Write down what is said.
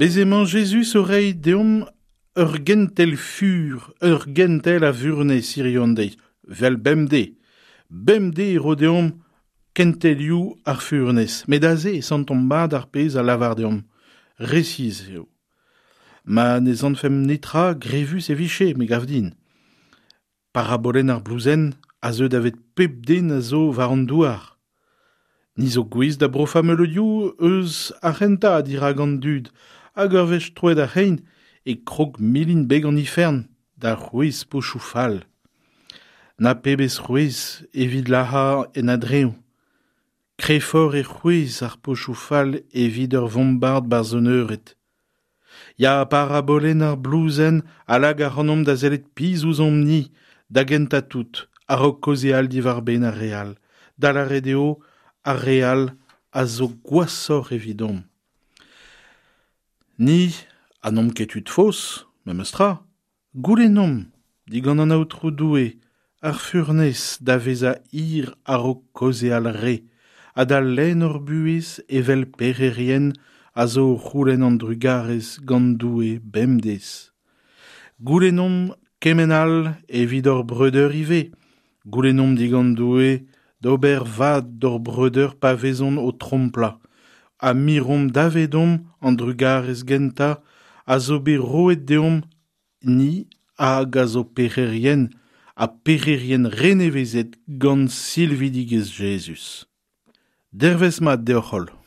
Bez' emañ Jezuz o reiñ deomp ur gentel fur, ur gentel a vurnez hiziv an deiz, 'vel bemdez. Bemdez e ro deomp kentelioù ar furnez, met aze e santomp mat ar pezh a lavar deomp. Resis eo. Ma ne santfemp netra grevus e vije, me gav din. Parabolenn ar blouzenn a zeu davet pep den a zo war an douar. Ni zo gouest da brofañ meuleudioù eus ar c'hentañ dirak an dud hag ur wech troet ar c'hein e krog milin beg an ifern da c'hwezh pochoù fall. Na pebezh c'hwezh evit lazhañ en a-dreñv. Kreñvoc'h e c'hwezh ar pochoù fall evit ur vombard 'barzh un eured. Ya, parabolenn ar blouzenn a lak ac'hanomp da sellet pizh ouzhomp-ni, da gentañ tout, a-raok kaozeal diwar-benn ar re all, da lâret eo ar re all a zo gwashoc'h evidomp. Ni ha n'omp ket tud faos, memes tra, Goulennomp digant an Aotrou Doue ar furnez da vezañ hir a-raok kaozeal re ha da lenn hor buhez evel pec'herien a zo o c'houlenn an drugarez gant Doue bemdez. Goulennomp kement all evit hor breudeur ivez. Goulennomp digant Doue d'ober vad d'hor breudeur pa vezont o tromplañ, ha miromp davedomp an drugarez gentañ a zo bet roet deomp ni hag a zo pec'herien ha pec'herien renevezet gant silvidigezh Jezuz. Dervezh mat deoc'h-holl.